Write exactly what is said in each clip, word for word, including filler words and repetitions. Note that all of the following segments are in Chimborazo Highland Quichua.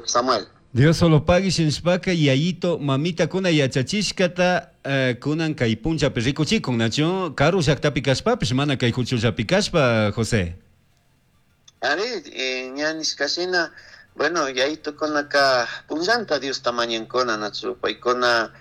Samuel. Dios solo pague shinshpaka yayito mamitakuna yachachishkata eh, kunan kay punchapi rikuchikun nachu karu llaqtapi kashpapish mana kay huchullapi kashpa, José. Ari, eh, ña nishkashina, bueno, yayitukunaka punllanta Diosta mañankuna nachu paykuna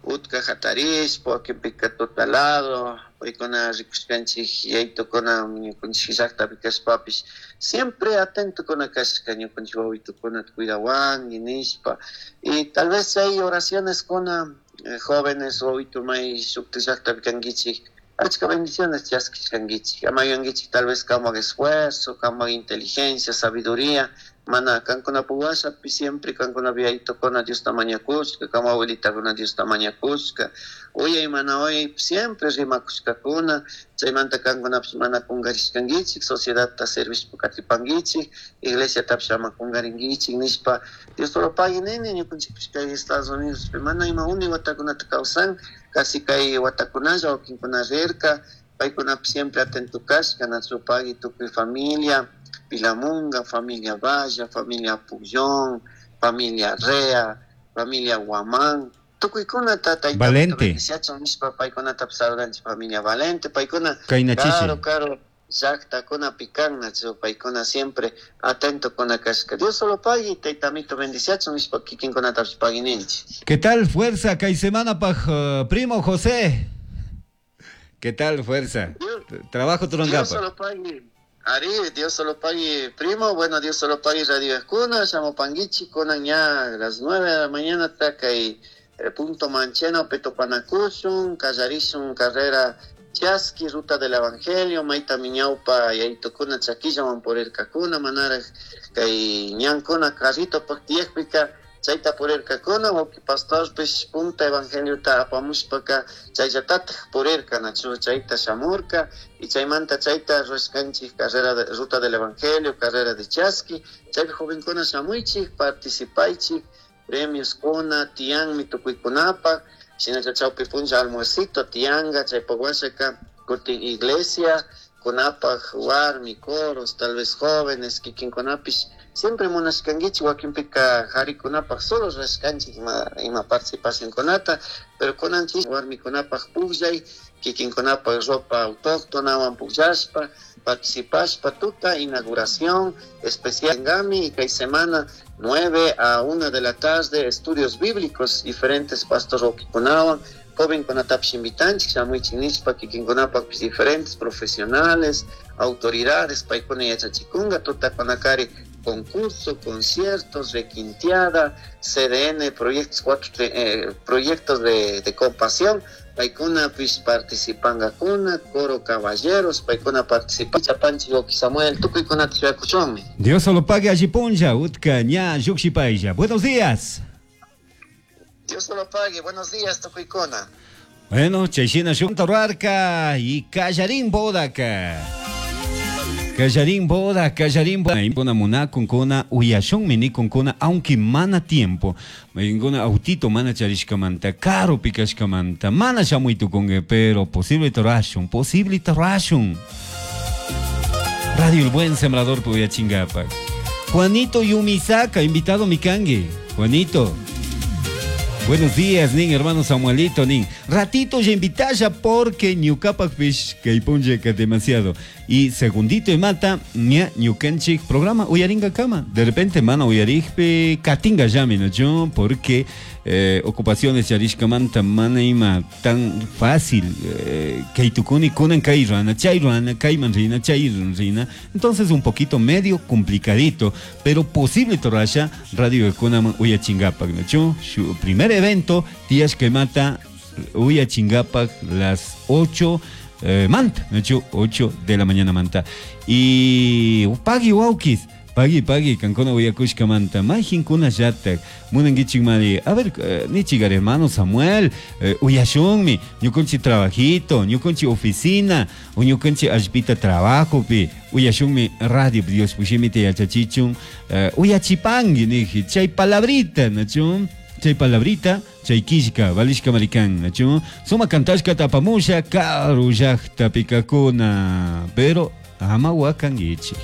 utka hatarishpa wakinpika tutalado paykuna rikushkanchik yayitukuna ñukanchik llaqtapi kashpapish siempre atentokuna kashka ñukanchik wawitukunata cuidawanki nishpa y tal vez chay oraciones kuna eh, jóvenes wawitu may shukta llaqtapi kankichik achka bendiciones chaskishkankichik ama yuyankichik tal vez kamak esfuerzo, kamak inteligencia, sabiduría mana kankunapak washapi siempre kankunapi yayitukuna Diosta mañakushka kama abuelitakuna Diosta mañakushka uyay mana uyay siempre rimakushkakuna chaymanta kankunapish mana kungarishkankichik sociedadta servishpa katipankichik iglesiatapish ama kungarinkichik nishpa Dios solo pague nini ñukanchikpish kay Estados Unidos mana ima uni watakunata kawsan casi kay watakunalla wakinkuna rirka paykunapish siempre atento kashka nachu pagui tukuy familia Pilamunga, familia Valla, familia Pullón, familia Rea, familia Guamán, tukuykunata tayta Valente. bendiciachun nishpa paykunata saludanchik familia Valente, paykuna Kayna chishi. karu karu llaqtakunapi kan nachu paykuna siempre atentokuna kashka Dios solo pagui taytamito bendiciachun nishpa kikinkunatapish pagui ninchik. ¿Qué tal fuerza kay semana paj eh, primo José? ¿Qué tal fuerza? Dios, Trabajo Dios turangapa. solo pagui. Ari, Dios solo pague, primo, bueno, Dios solo pague Radio Escuna, llamo Panguichi, kunan ya a las nueve de la mañana, taka y eh, punto Mancheno, Petopanacushun, Callarishun, carrera Chasqui, ruta del Evangelio, Maita Miñaupa, Yaitocuna, Chaquilla, Mamporircacuna, Manara, kay ñankuna, carrito, Pactiekpica, chayta purirkakuna, wawqi pastorpish punta evangeliota apamushpaka chayllatataj purirka, nachu chayta shamurka, y chaymanta chayta rurashkanchik carrera de, ruta del evangelio, carrera de Chasqui, chaypi jovenkuna shamuychik, participaychik, premios kuna, tiyanmi tukuykunapaq, shinalla chawpi punlla almuercito, tiyanga, chaypak washaka kutin iglesia, kunapaq warmi, coros, tal vez jóvenes, kikinkunapish siempre munashkankichik wakinpika qharikunapaq solo rurashkanchik ima, ima participacionkunata, pero kunanchik warmikunapaq pukllay, kikinkunapaq ropa autóctonawan pukllashpa, participashpa tuta inauguración especial en Gami y kay semana nueve a una de la tarde estudios bíblicos diferentes pastor wawqikunawan jovenkunatapish invitanchik shamuychik nishpa kikinkunapaqpish diferentes profesionales, autoridades paykuna yachachikunga tutakunakari concurso, conciertos, requinteada, C D N, proyectos, cuatro, eh, proyectos de, de compasión, paykuna pis participangakuna, coro caballeros, paykuna participa, Chapanchi, Oki Samuel, tukuykunata shuyakuchunmi. Dios solo pague allí puncha, utka, ña, yuxipaya. Buenos días. Dios solo pague, buenos días, tukuykuna. Bueno, chayshina shunta ruarka y kallarín bodaka. Kallarín boda, kallarín boda. Kuna munakun, kuna uyashunmi nikun, kuna, aunque mana tiempo. Kuna autito mana charishkamanta, caro pikashkamanta, mana shamuitukunge, pero posible torashun, posible torashun. Radio El Buen Sembrador Puyachingapak. Juanito Yumisaka, invitado mikangue. Juanito. Buenos días, nin, hermano Samuelito, nin. Ratito ya invitaya porque ñukapak fish que que demasiado. Y segundito y mata, ña ñukanchik programa uyaringa kama. De repente, mana uyarijpe katinga llame, ¿no? Yo, porque, eh, ocupaciones yarishkamanta mana ima tan fácil, eh, que itukuni kunan kai rana, chay rana, kai man rina, chay rina. Entonces un poquito medio complicadito, pero posible torasha radio de kunaman uyachingapak, ¿no? Yo, su primer evento, tías que mata uyachingapak las ocho, eh, manta, de hecho, ocho de la mañana manta. Y pagui waukis, pagui, pagui, kankuna uyakushka manta, majin kuna yatak, munangichik mari, a ver, eh, nichigar hermano Samuel, eh, uyashunmi, ñukunchi trabajito, ñukunchi oficina, o ñukunchi allpita trabajo pi, uyashunmi radio, Dios pushimite yachachichun, eh, uyachipangi, niji, chay palabrita, nachun, chay palabrita, chay kishka, valishka maricán, nachu, suma kantashka tapamusha, karu llaqta pikakuna, pero ama wakangichi.